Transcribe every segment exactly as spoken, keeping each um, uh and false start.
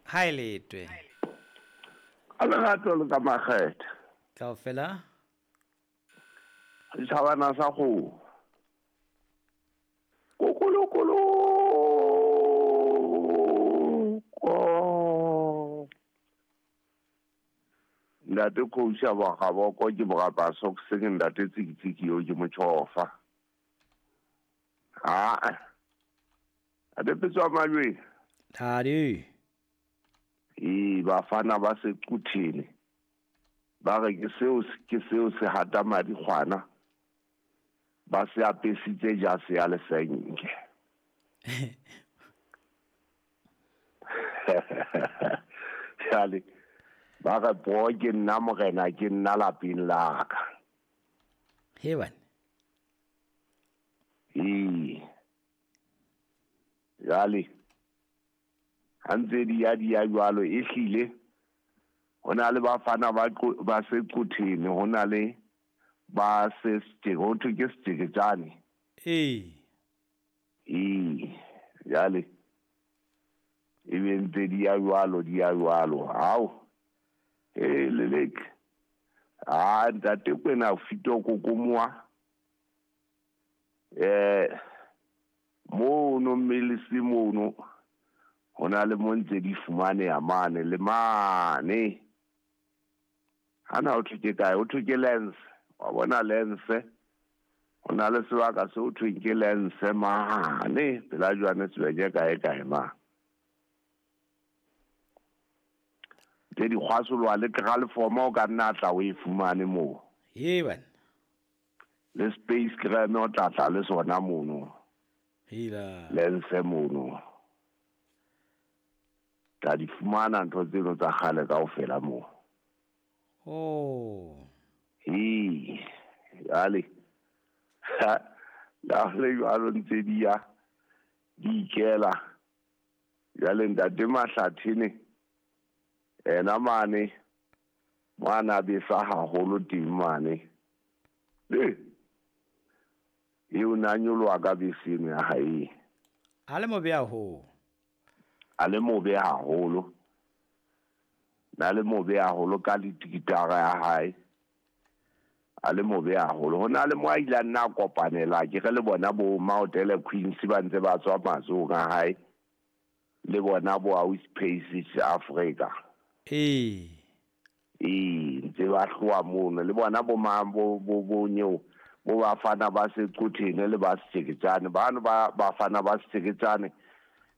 Ha e letwe. A lerato le ka makgethe. Kaofela. Setjhabana sa kgoho. Kokolokolo. Ko. Ntate Khousha ba gaboko ke borapa socks ke ntate tsikitsiki yo ke motjhofa. Ah. Ade petswa malwe. Thadi. E bafana ba sequthini. Ba re ke seo ke seo se hata madi kgwana. Ba se apesitse jase ya lesenke. Jale ba re bo ke nna morena ke nna lapeng la ka. He bana. E jale ha ntse di ya di ya jwalo e hlile ho na le bafana ba ba sequthini ho na le ba se ho thwe ke setjeketjane. Ee. Ee, jale e be ntse di ya jwalo di ya jwalo. Hao e lelek ah ntate kwena fito kokomoa eh mono mmele mono ho na le mo ntse di fumaneha mane le mane. Hana o thwe ke kae? O thwe ke lens. Wa bona lens? Ho na le sebaka se o thweng ke lens mane pela Johannesburg kae kae ma. Tse di kgwasolwa le kraleforma o ka nna tla o e fumane moo. He bana. Le space creme o tla tla le sona mono. Hila. Lens mono. Tla di fumana ntho tseno tsa kgale kaofela moo. Oh. Ee, jale. La le jwalo ntse di ya di ikela. Jale ntate Mahlathene ena mane mwana besa haholo teng mane. Le eo na nyoloha ka bese ya hae. A le mobe haholo. A le mobe haholo. Na le mobe haholo ka litikitara ya hae. A le mobe haholo. Ho na le mo a ile a nna kopanela ke re le bona bo Maotele Queens ba ntse ba tswa matsohong a hae. Le bona bo Aus Paces Africa. Ee. Ee, ntse ba hloa mono le bona bo mang bo bo bo nyeo bo bafana ba sequthini le ba setjeketjane bano ba bafana ba setjeketjane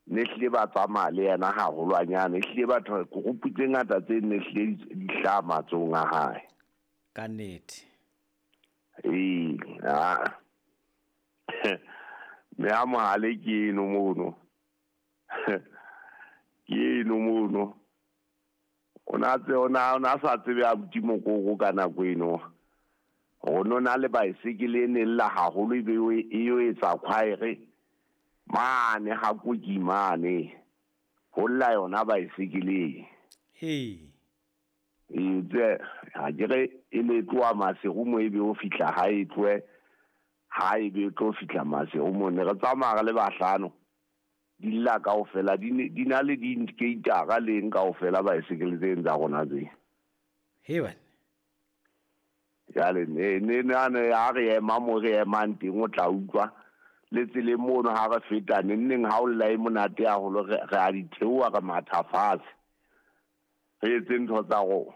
ne hlile ba tsamaya le yena haholwanyane e hlile batho group tse ngata tse ne hlile di hlaha matsohong a hae. Ka nnete. Ee, ah. Me a mohale ke eno mono. Ke eno mono. O na tse o na o na sa tsebe a buti mokoko ka nako eno. Ho no na le baesekele e ne lla haholo ebe e yo etsa khwaere mane ha koki mane. Ho lla yona baesekele. Ee. E tse ha ke re e le tloha Maseru mo ebe o fihla ha e tlohe ha ebe e tlo fihla Maseru mo ne re tsamaya re le bahlano. Di lla kaofela di di na le di-indicator leng kaofela baesekele tse tsa rona tse. He bana. Jale ne ne ne ha re ema mo re emang teng o tla utlwa le tseleng mono ha re feta neng neng ha o lla e monate haholo re re a di theoha re matha fatshe. Re etse ntho tsa rona.